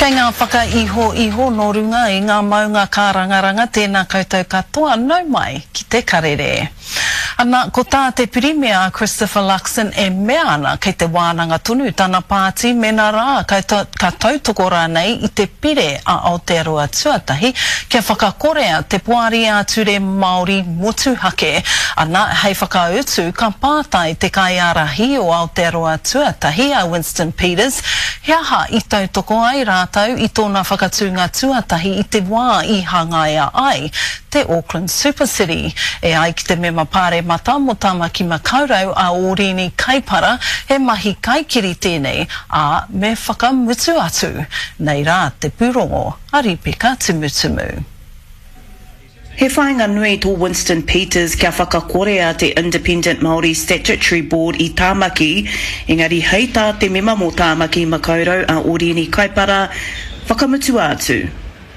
Kei ngā whakaihoiho nō runga i ngā maunga kārangaranga tēnā koutou katoa nau mai ki te karere. Ana, ko tā te Pirimia a Christopher Luxon e mea ana kei te wānanga tonu tana pāti mena rā ka ka tautoko rānei i te pire a Aotearoa Tuatahi kia whakakorea te Poari ā-Ture Māori motuhake. Ana, hei whakautu ka pātai te kaiārahi o Aotearoa Tuatahi a Winston Peters He aha i tautoko ai rātou i tōna whakatūnga tuatahi i te wā i hangaia ai te Auckland Super City? E ai ki te mema pāremata mō Tāmaki Makaurau a Ōrini Kaipara, he mahi kaikiri tēnei, ā, me whakamutu atu. Nei rā te pūrongo a Ripeka Tumutumu. He whāinga nui tō Winston Peters kia whakakorea te Independent Māori Statutory Board i Tāmaki, engari hei tā te mema mō Tāmaki Makaurau a Oriini Kaipara, whakamutua atu.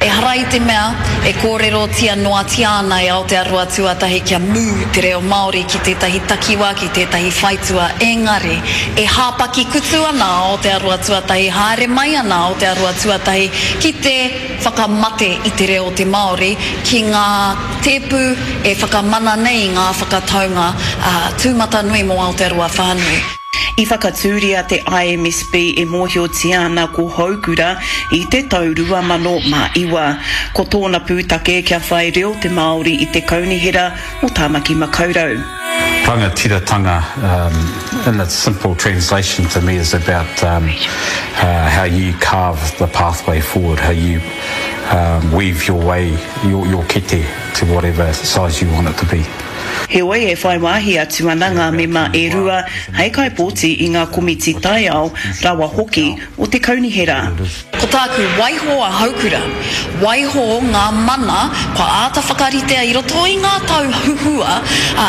Ehara i te mea e kōrerotia noatia ana e Aotearoa Tuatahi kia mū te reo Māori ki tētahi takiwā, ki tētahi whaitua, engari e hāpaki kutu ana a Aotearoa Tuatahi, haere mai ana a Aotearoa Tuatahi ki te whakamate i te reo o te Māori ki ngā tēpu e whakamana nei i ngā whakataunga tūmatanui mō Aotearoa whānui. I whakatūria te IMSB e mōhiotia ana ko Houkura i te tau 2009. Ko tōna pūtake kia whai reo te Māori i te Kaunihera o Tāmaki Makaurau. Rangatiratanga in its simple translation to me is about how you carve the pathway forward, how you weave your way, your, your kete to whatever size you want it to be. Heoi, e whai wāhi atu ana ngā mema e rua hei kaipōti i ngā komiti taiao, rawa hoki, o te kaunihera. Ko tāku, waiho a Haukura, waiho ngā mana kua āta whakaritea i roto i ngā tau huhua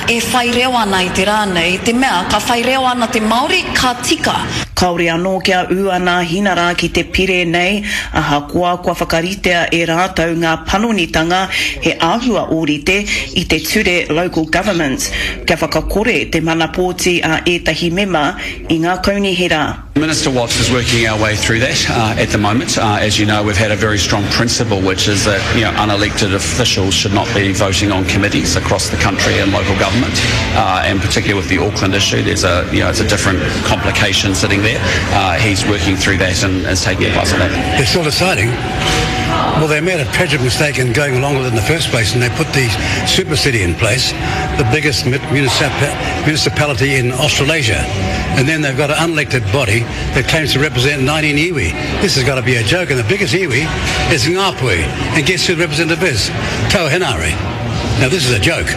e whai reo ana i te rā nei, i te mea ka whai reo ana te Māori, ka tika. Kāore anō kia ū a Nāhinara ki te pire nei, ahakoa kua whakaritea e rātou ngā panonitanga he āhua ōrite i te ture Local Government kia whakakore te mana pōti a ētahi mema i ngā kaunihera. Minister Watts is working our way through that uh, at the moment. Uh, as you know, we've had a very strong principle, which is that you know, unelected officials should not be voting on committees across the country and local government, uh, and particularly with the Auckland issue, there's a you know it's a different complication sitting there. Uh, he's working through that and is taking advice on that. They're still deciding. Well, they made a tragic mistake in going along with it in the first place, and they put the super city in place, the biggest municipality in Australasia. And then they've got an unelected body that claims to represent 19 iwi. This has got to be a joke, and the biggest iwi is Ngāpuhi. And guess who the representative is? Tau Henare. Now this is a joke.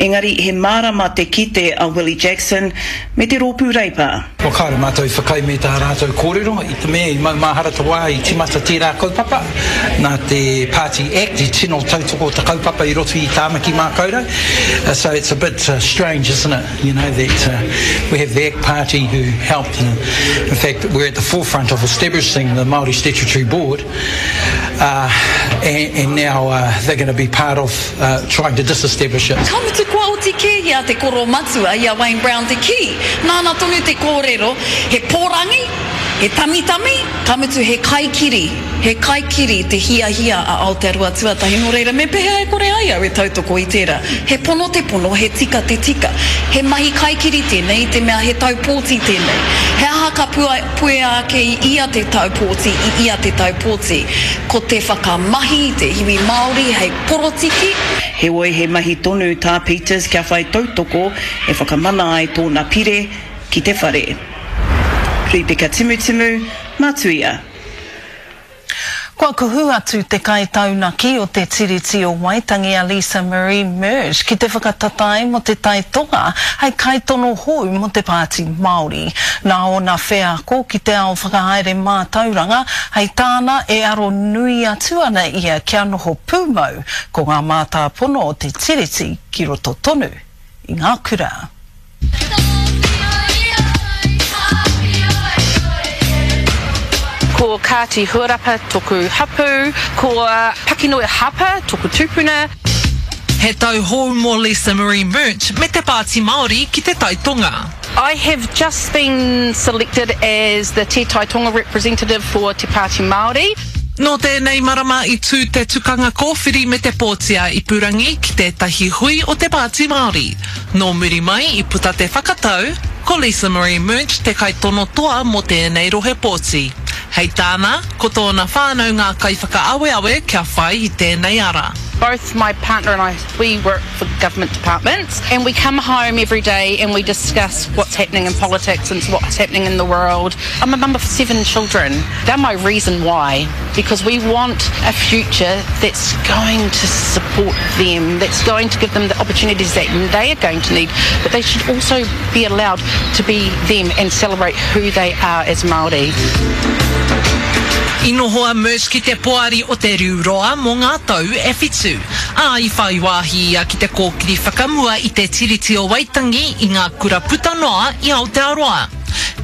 Engari he mārama te kite a Willie Jackson me te Rōpū Reipa. Kua kāore mātou i whakaae me tā rātou kōrero i te mea i maumahara te wā i tīmata tērā kaupapa nā te Party Act i tino tautoko te kaupapa i roto i Tāmaki Mākaurau so it's a bit strange isn't it you know that we have the Act Party who helped and in fact we're at the forefront of establishing the Māori Statutory Board uh, and, and now uh, they're going to be part of uh, trying to disestablish it. Ka mutu kua oti kē i a te koro matua, i a Wayne Brown te kī, nāna tonu te kōrero, he pōrangi, he tamitami, ka mutu he kaikiri, he kaikiri te hiahia a Aotearoa Tuatahi, nō reira me pēhea e kore ai au e tautoko i tērā? He pono te pono, he tika te tika. He mahi kaikiri tēnei i te mea he tau pōti tēnei. He aha ka puea ake i ia te tau pōti, i ia te tau pōti? Ko te whakamahi i te iwi Māori hei porotiki. Heoi he mahi tonu tā Peters kia whai tautoko e whakamana ai tōna pire ki te whare. Ripeka Timutimu, Matuia. Kua kuhu atu te kaitaunaki o te Tiriti o Waitangi a Lisa Marie Merge ki te whakatatae mō Te Tai Tonga hei kaitono hou mō te Pāti Māori. Nā ōna wheako ki te ao whakahaere mātauranga, hei tāna e aro nui atu ana ia kia noho pūmau ko ngā mātāpono o te Tiriti ki roto tonu i ngā kura. Ko Kāti Huarapa toku hapu, ko Pakinoe Hapa toku tupuna. He tau hou mō Lisa Marie Murch me te Pāti Māori ki Te Tai Tonga. I have just been selected as the Te Tai Tonga representative for Te Pāti Māori. Nō tēnei marama i tū te tukanga kōwhiri me te pōti ā-ipurangi ki tētahi hui o te Pāti Māori. Nō muri mai i puta te whakatau, ko Lisa Marie Murch te kaitono toa mō tēnei rohe pōti. Hei tāna, ko tōna whānau ngā kaiwhakaaweawe kia whai i tēnei ara. Both my partner and I, we work for government departments and we come home every day and we discuss what's happening in politics and what's happening in the world. I'm a mum of seven children. They're my reason why, because we want a future that's going to support them, that's going to give them the opportunities that they are going to need, but they should also be allowed to be them and celebrate who they are as Māori. I noho a Mersh ki te poari o Te Riu Roa mō ngā tau e whitu, ā, i whai wāhi ia ki te kōkiri whakamua i te Tiriti o Waitangi i ngā kura puta noa i Aotearoa.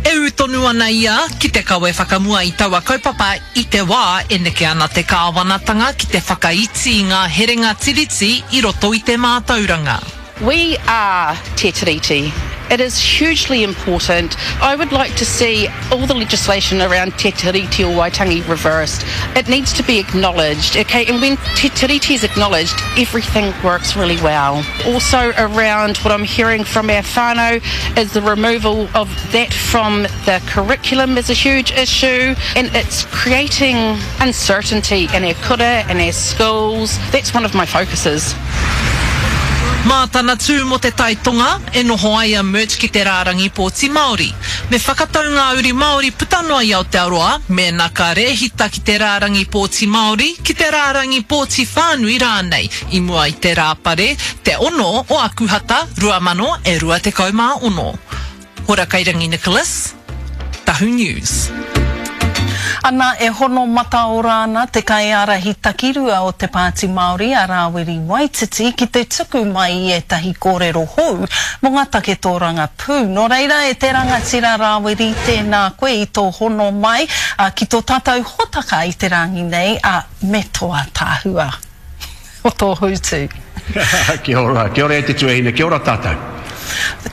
E ū tonu ana ia ki te kawe whakamua i taua kaupapa i te wā e neke ana te kāwanatanga ki te whakaiti i ngā herenga Tiriti i roto i te mātauranga. We are Te Tiriti. It is hugely important. I would like to see all the legislation around Te Tiriti o Waitangi reversed. It needs to be acknowledged, okay? And when Te Tiriti is acknowledged, everything works really well. Also around what I'm hearing from our whānau is the removal of that from the curriculum is a huge issue and it's creating uncertainty in our kura and our schools. That's one of my focuses. Mā tana tū mō Te Tai Tonga e noho ai a Murch ki te rārangi pōti Māori. Me whakatau ngā uri Māori puta noa i Aotearoa mēnā ka rēhita ki te rārangi pōti Māori, ki te rārangi pōti whānui rānei i mua i te Rāpare, te 6 o Akuhata 2026. Hora Kairangi Nicholas, Tahu News. Ana, e hono mataora ana te kaiārahi takirua o Te Pāti Māori a Rāwiri Waititi ki te tuku mai i ētahi kōrero hou mō ngā take tōrangapū. Nō reira, e te rangatira Rāwiri, tēnā koe i tō hono mai ki tō tātou hōtaka i te rāngi nei, ā, me tō ātaahua. O tō hūtu. Kia ora, kia ora e te tuahine, kia ora tātou.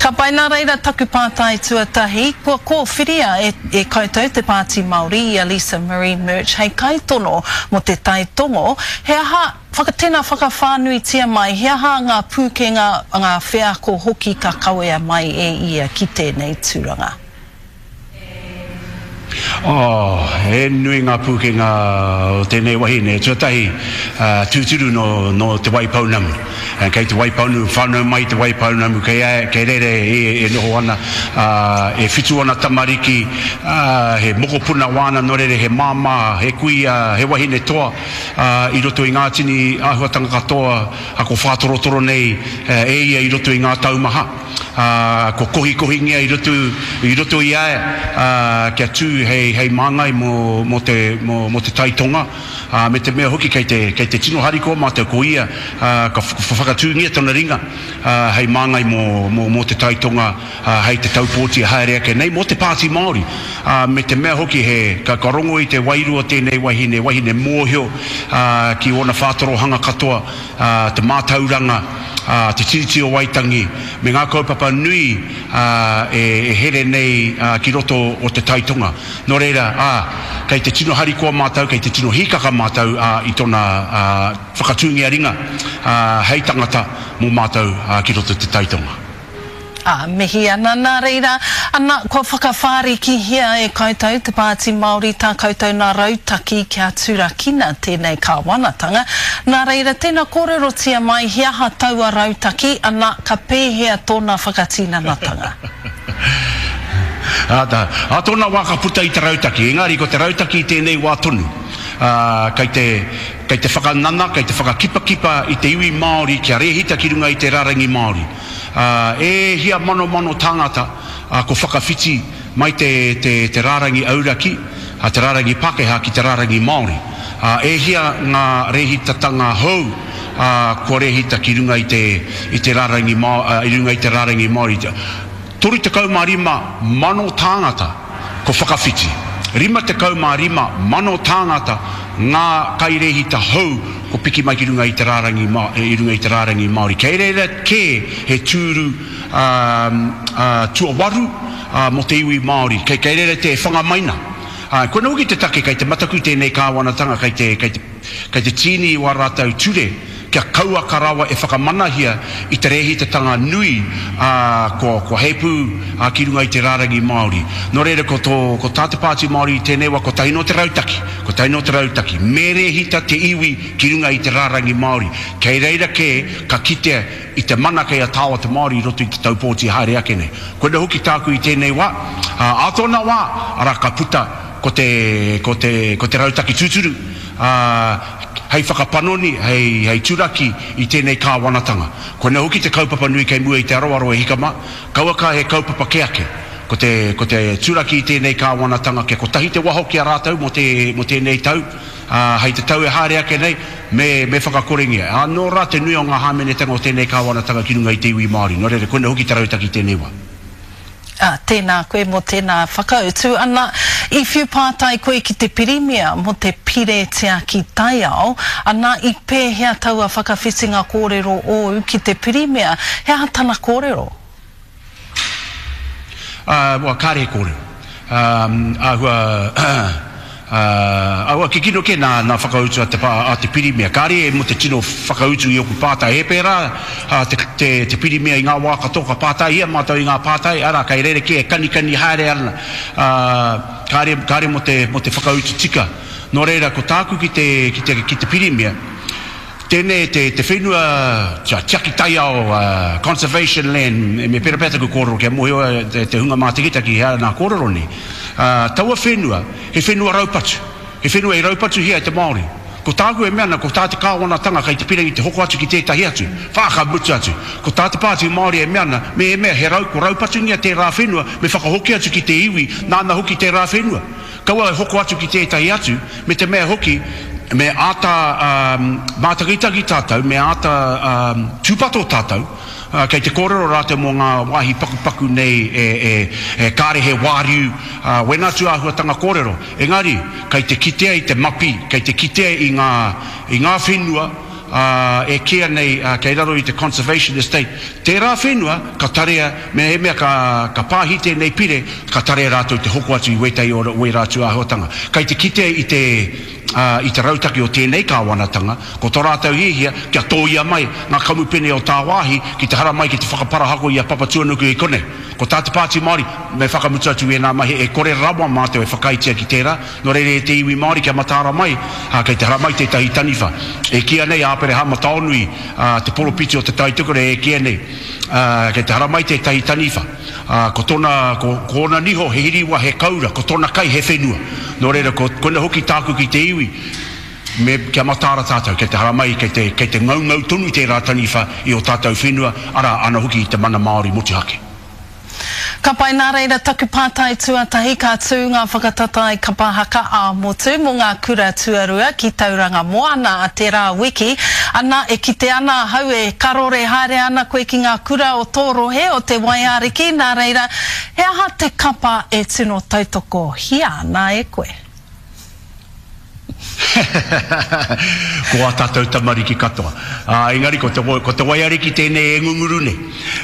Ka pai, nā reira taku pātai tuatahi, kua kōwhiria e, e koutou te Pāti Māori i a Lisa Marie Murch hei kaitono mō te Tai Tongo, he aha, whaka, tēnā whakawhānuitia mai, he aha ngā pūkenga, ngā wheako hoki ka kawea mai e ia ki tēnei tūranga? Oh, he nui ngā pūkenga o tēnei wahine. Tuatahi, tūturu nō, nō Te Waipounamu. Kei Te Waipounamu, whānau mai Te Waipounamu, kei, kei reira e, e noho ana, e whitu ana tamariki, he mokopuna wāna nō reira, he māmā, he kuia, he wahine toa, i roto i ngā tini āhuatanga katoa, ko whātorotoro nei e ia i roto i ngā taumaha. ā, kua kohikohingia i roto, i roto i a ia, ā, kia tū hei, hei māngai mō, mō te, mō, mō te Tai Tonga, ā, me te mea hoki kei te, kei te tino harikoa mātou ko ia, ā, ka whakatūngia tana ringa, ā, hei māngai mō, mō, mō te Tai Tonga, ā, hei te tau pōti e haere ake nei, mō te Pāti Māori. Ā, me te mea hoki he, ka, ka rongo i te wairua o tēnei wahine, wahine mōhio, ā, ki ōna whātorohanga katoa, ā, te mātauranga, ā, te Tiriti o Waitangi, me ngā kaupapa nui, ā, e, e here nei, ā, ki roto o Te Tai Tonga. Nō reira, ā, kei te tino harikoa mātou, kei te tino hīkaka mātou, ā, i tōna, ā, whakatūngia ringa, ā, hei tangata mō mātou, ā, ki roto Te Tai Tonga. Ā, mihi ana, nā reira, ana, kua whakawhārikihia e koutou te Pāti Māori tā koutou nā rautaki kia turakina tēnei kāwanatanga. Nā reira, tēnā kōrerotia mai he aha taua rautaki, ana, ka pēhea tōna whakatinanatanga? Ā, ā tōna wā ka puta i te rautaki, engari ko te rautaki i tēnei wā tonu, ā, kei te, kei te whakanana, kei te whakakipakipa i te iwi Māori kia rēhita ki runga i te rarangi Māori. Ā, e hia manomano tāngata, ā, ko whakawhiti mai te, te, te rārangi auraki, ā, te rārangi Pākehā ki te rārangi Māori. Ā, e hia ngā rēhitatanga hou, ā, kua rēhita ki runga i te, i te rārangi Mā, ā, i runga i te rārangi Māori. 35 mano tāngata ko whakawhiti. 55 mano tāngata ngā kairēhita hou ko piki mai ki runga i te rārangi i runga i te rārangi Māori. Kei reira kē he tūru tuawaru mō te iwi Māori. Kei reira te whanga maina. Ā, koinā hoki te take kei te mataku tēnei kāwanatanga kei te, kei te, kei te tīni i wā rātou ture kia kauaka rawa e whakamanahia i te rēhitatanga nui, ā, kua, kua heipū, ā, ki runga i te rārangi Māori. Nō reira, ko tō, ko tā te Pāti Māori i tēnei wā, kotahi noa te rautaki, kotahi noa te rautaki, me rēhita te iwi ki runga i te rārangi Māori. Kei reira kē ka kitea i te mana kei a tāua te Māori i roto i te tau pōti haere ake nei. Koina hoki tāku i tēnei wā, ā, ā tōna wā, arā, ka puta ko te, ko te, ko te rautaki tūturu, ā, hei whakapanoni, hei, hei turaki i tēnei kāwanatanga. Koina hoki te kaupapa nui kei mua i te aroaro e hika mā, kauaka he kaupapa kē ake. Ko te, ko te turaki i tēnei kāwanatanga kia kotahi te waho ki a rātou mō te, mō tēnei tau, Ā, hei te tau e haere ake nei, me, me whakakorengia. Ā, nō rā te nui o ngā hāmenetanga o tēnei kāwanatanga ki runga i te iwi Māori. Nō reira, koina hoki te rautaki i tēnei wā. Ā, tēnā koe mō tēnā whakautu. Ana, i whiu pātai koe ki te Pirimia mō te Pire Tiaki Taiao, ana, i pēhea taua whakawhitinga kōrero ōu ki te Pirimia? He aha tana kōrero? Ā, well, kāre he kōrero. Ā, āhua, ā, āhua kikino kē nā, nā whakautu a te pā, a te Pirimia. Kāre e mō te tino whakautu i ōku pātai. He pērā, ā, te, te, te Pirimia i ngā wā katoa ka pātaihia mātou i ngā pātai, arā, kei rerekē e kanikani haere ana, ā, kāre, kāre mō te, mō te whakautu tika. Nō reira, ko tāku ki te, ki te, ki te Pirimia, Tēnei te te whenua tiaki taiao, conservation land, me pera pea taku kōrero kia mōhio ai te hunga mātakitaki he aha nā kōrero nei. Taua whenua, he whenua raupatu, he whenua i raupatuhia e te Māori. Ko tāku e mea ana, ko tā te kāwanatanga kei te pirangi te hoko atu ki tētahi atu, whā ka mutu atu. Ko tā te Pāti Māori e mea ana, mehemea he rau, ko raupatungia tērā whenua, me whakahoki atu ki te iwi nāna hoki tērā whenua. Kaua e hoko atu ki tētahi atu, me te mea hoki, me āta mātakitaki tātou, me āta tūpato tātou, kei te kōrero rātou mō ngā wāhi pakupaku nei e kāre he wāriu, wēnā tū āhuatanga kōrero. Engari, kei te kitea i te mapi, kei te kitea i ngā, i ngā whenua, ā, e kīia nei kei raro i te Conservation Estate, tērā whenua ka tarea, mehemea ka, ka pāhi tēnei pire, ka tarea rātou te hoko atu i wētahi o wērā tūāhuatanga. Kei te kite i te, ā, i te rautaki o tēnei kāwanatanga, ko tō rātou hiahia kia tōia mai ngā kamupene o tāwāhi ki te haramai ki te whakaparahako i a Papatuanuku i konei. Ko tā te Pāti Māori, me whakamutu atu ēnā mahi, e kore rawa mātou e whakaaetia ki tērā, Nō reira e te iwi Māori kia mataara mai, ā, kei te haramai tētahi taniwha. E kīia nei a Aperehama Taonui, ā, te poropiti o Te Tai Tokerau e kīia nei, ā, kei te haramai tētahi taniwha. Ā, ko tōna, ko, ko ōna niho he hiriwa, he kaura, ko tōna kai he whenua. Nō reira, ko, koina hoki tāku ki te iwi, me, kia mataara tātou, kei te haramai, kei te, kei te ngaungau tonu tērā taniwha i ō tātou whenua, arā, ana hoki i te mana Māori motuhake. Ka pai, nā reira taku pātai tuatahi, ka tū ngā whakatatae kapa haka ā-motu mō ngā kura tuarua ki Tauranga Moana a tērā wiki, ana, e kite ana ahau e karore haere ana koe ki ngā kura o tō rohe o Te Waiariki, nā reira, he aha te kapa e tino tautokohia ana e koe? Ko ā tātou tamariki katoa. Ā, engari ko te, ko te waiariki tēnei e ngunguru nei.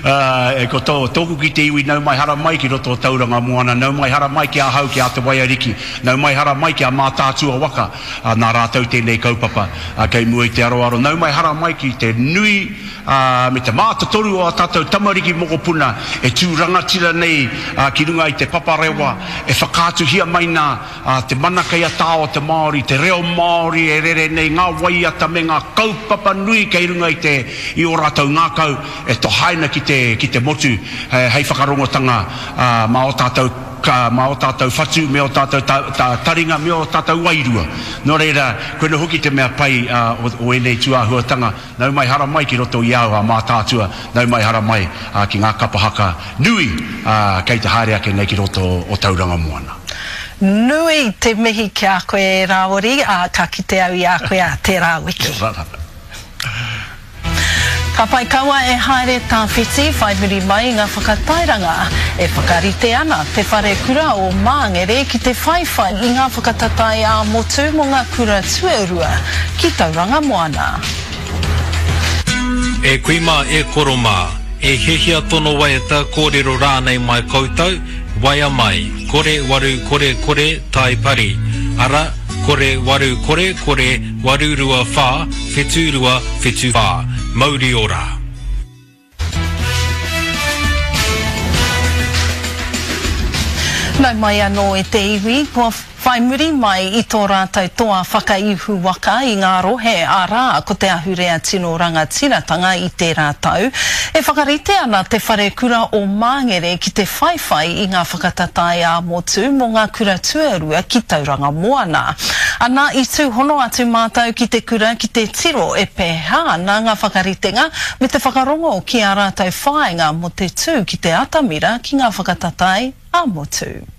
Ā, ko tō, tōku ki te iwi nau mai hara mai ki roto o Tauranga Moana, nau mai hara mai ki ahau ki a Te Waiariki, nau mai hara mai ki a Mātaatua waka, ā, nā rātou tēnei kaupapa, ā, kei mua i te aroaro, nau mai hara mai ki te nui, ā, me te mātotoru o ā tātou tamariki mokopuna e tū rangatira nei, ā, ki runga i te paparewa e whakaatuhia mai nā, Ā, te mana kei a tāo te Māori, te reo Māori e rere nei, ngā waiata me ngā kaupapa nui kei runga i te, i ō rātou ngākau e tohaina ki te, ki te motu, hei whakarongotanga, ā, mā ō tātou, mā ō tātou whatu me ō tātou ta, ta, taringa me ō tātou wairua. Nō reira, koina hoki te mea pai, ā, o, o ēnei tūāhuatanga, Nau mai hara mai ki roto i au a Mātaatua, nau mai hara mai ki ngā kapa haka nui kei te haere ake nei ki roto o Tauranga Moana. Nui te mihi ki a koe e Rāwiri, ā, ka kite au i a koe ā tērā wiki. Kia ora. Ka pai kaua e haere tawhiti whai muri mai i ngā whakatairanga. E whakarite ana te Wharekura o Māngere ki te whaiwhai i ngā whakatatae ā-motu mō ngā kura tuarua ki Tauranga Moana. E kui mā, e koro mā, e hiahia tono waiata, kōrero rānei mai koutou, Waea mai, kore waru kore kore tai pari, ara, kore waru kore kore 8 2 wha whitu rua whitu wha. Mauri ora! Nau mai anō e te iwi, kua whai muri mai i tō rātou toa whakaihu waka i ngā rohe, arā, ko te ahurea tino rangatiratanga i tērā tau. E whakarite ana te Wharekura o Māngere ki te whaiwhai i ngā whakatatae ā-motu mō ngā kura tuarua ki Tauranga Moana. Ana, i tūhono atu mātou ki te kura ki te tiro e pēhea ana ngā whakaritenga me te whakarongo ki ā rātou whāinga mō te tū ki te atamira ki ngā whakatatae ā-motu.